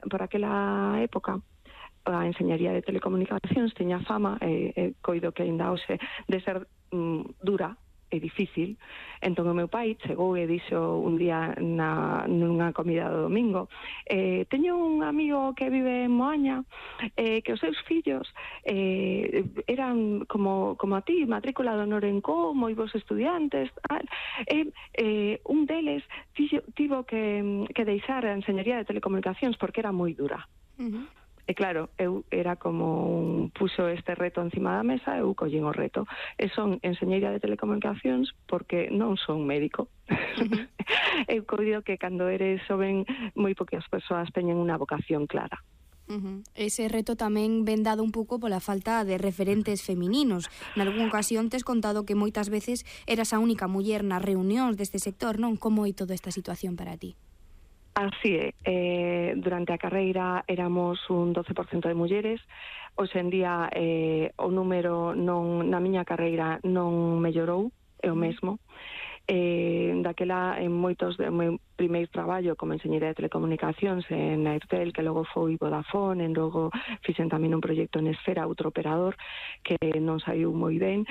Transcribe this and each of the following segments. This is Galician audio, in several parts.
aquela época a enseñaría de telecomunicacións tiña fama, coido que aínda hoxe, de ser dura e difícil. Entón o meu pai chegou e dixo un día nunha comida do domingo, teño un amigo que vive en Moaña, que os seus fillos eran como a ti, matrícula de honor en Co, moi bons estudiantes, tal. Un deles tivo que deixar a enseñaría de telecomunicacións porque era moi dura. E claro, eu era como puxo este reto encima da mesa, eu collín o reto. E son enseñeira de telecomunicacións porque non son médico. Eu coido que cando eres xoven moi poucas persoas teñen unha vocación clara. Ese reto tamén ven dado un pouco pola falta de referentes femininos. Nalgúna ocasión tes contado que moitas veces eras a única muller nas reunións deste sector, non? Como é toda esta situación para ti? Así é, durante a carreira éramos un 12% de mulleres. Hoxe en día o número na miña carreira non mellorou, é o mesmo. Daquela, en moitos do meu primeiro traballo como enxeñeira de telecomunicacións en Airtel, que logo foi Vodafone, e logo fixen tamén un proxecto en Esfera, outro operador, que non saiu moi ben.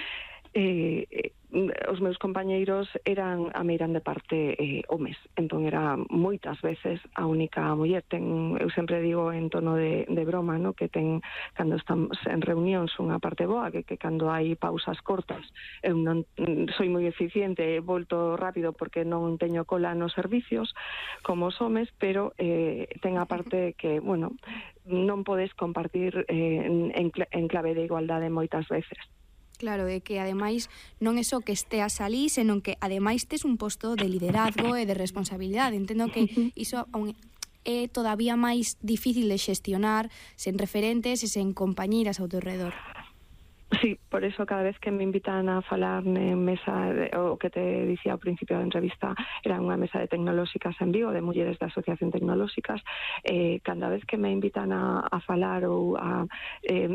Os meus compañeiros eran a meirande parte homes, entón era moitas veces a única muller. Eu sempre digo en tono de broma, no, que cando estamos en reunións unha parte boa, que cando hai pausas cortas eu non soy moi eficiente, volto rápido porque non teño cola nos servicios como os homes, pero ten a parte que, bueno, non podes compartir en clave de igualdade moitas veces. Claro, é que ademais non é só que esteas alí, senón que ademais tes un posto de liderazgo e de responsabilidade. Entendo que iso é todavía máis difícil de xestionar sen referentes e sen compañeiras ao teu redor. Sí, por eso cada vez que me invitan a falar en mesa, o que te dicía ao principio da entrevista, era unha mesa de tecnolóxicas en Vigo, de mulleres da Asociación Tecnolóxicas, cada vez que me invitan a falar ou a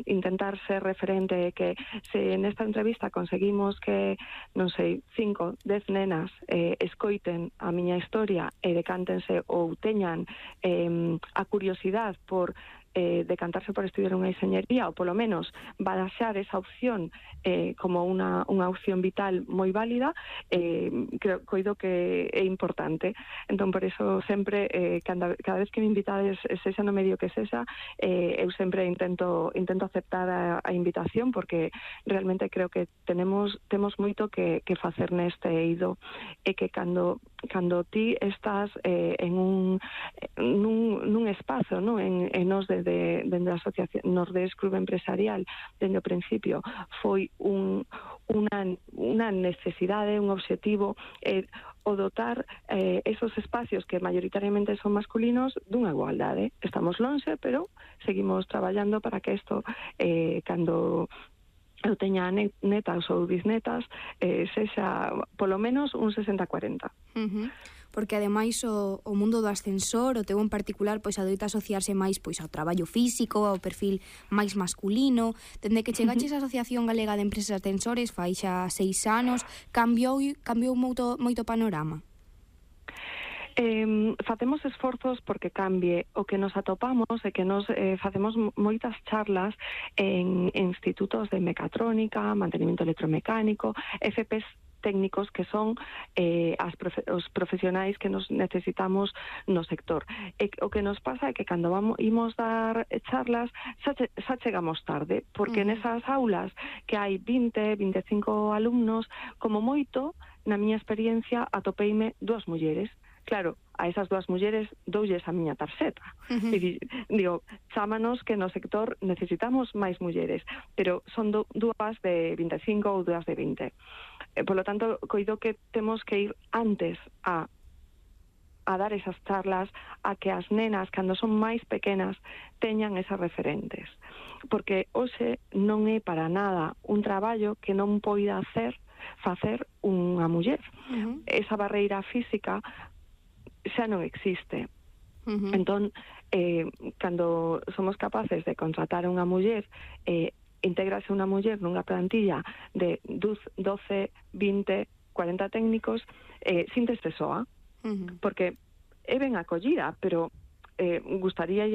intentar ser referente, que se nesta entrevista conseguimos que, non sei, 5, 10 nenas escoiten a miña historia e decántense ou teñan a curiosidade por decantarse por estudiar unha enxeñería, ou polo menos baraxar esa opción como unha opción vital moi válida, coido que é importante. Entón, por eso sempre, cada vez que me invitades, sexa no medio que sexa, eu sempre intento aceptar a invitación, porque realmente creo que temos moito que facer neste eido, e que cando ti estás nun espazo, no? En nos dende a asociación Nordés Club Empresarial, dende o principio foi unha necesidade, un obxectivo, o dotar esos espacios que mayoritariamente son masculinos dunha igualdade. Estamos lonxe, pero seguimos traballando para que isto, cando eu teña netas ou bisnetas, sexa polo menos un 60-40. Porque ademais o mundo do ascensor, o teu en particular, pois adoita asociarse máis pois ao traballo físico, ao perfil máis masculino. Dende que chegaches á Asociación Galega de Empresas Ascensores, fai xa 6 anos, cambiou moito o panorama? Facemos esforzos porque cambie. O que nos atopamos é que nos facemos moitas charlas en institutos de mecatrónica, mantenimiento electromecánico, FPs técnicos que son os profesionais que nos necesitamos no sector. O que nos pasa é que cando imos dar charlas xa chegamos tarde, porque nesas aulas que hai 20-25 alumnos, como moito, na miña experiencia, atopeime 2 mulleres. Claro, a esas 2 mulleres doulles a miña tarxeta. Digo, chámanos que no sector necesitamos máis mulleres, pero son 2 de 25 ou 2 de 20. Por lo tanto, coido que temos que ir antes a dar esas charlas, a que as nenas, cando son máis pequenas, teñan esas referentes. Porque hoxe non é para nada un traballo que non poida facer unha muller. Esa barreira física xa non existe. Entón, cando somos capaces de contratar unha muller, integrase unha muller nunha plantilla de 12, 20, 40 técnicos, síntese soa, porque é ben acollida, pero gustaría